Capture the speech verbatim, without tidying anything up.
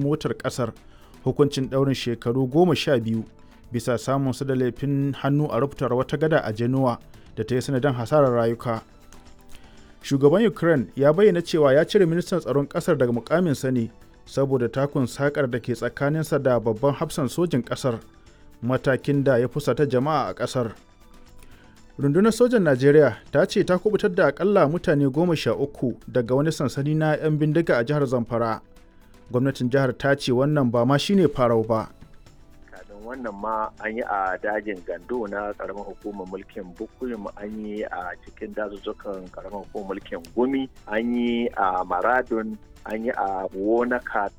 motar ƙasar hukuncin ɗaurin shekaru goma sha biyu bisa samun su da laifin hannu a rubutar wata gada a Genoa da ta yi sanadin hasarar rayuka. Shugaban Ukraine ya bayyana cewa ya cire ministan tsaron ƙasar daga mukaminsa ne saboda takun sakar da ke tsakaninsa da babban hafsan sojin ƙasar, matakin da ya fusata jama'a a ƙasar. Rundunar sojan Najeriya ta ce ta kubutar da akalla mutane goma sha uku daga wani sansani na 'yan bindiga a jihar Zamfara. Gwamnatin jihar ta ce wannan ba ma shine farau ba. Kafin wannan ma an yi a dajin Gando na karamar hukumar mulkin Bukuyum, an yi a cikin dazuzzukan karamar hukumar mulkin Gumi, an yi a Maradun, an yi a Wonaka.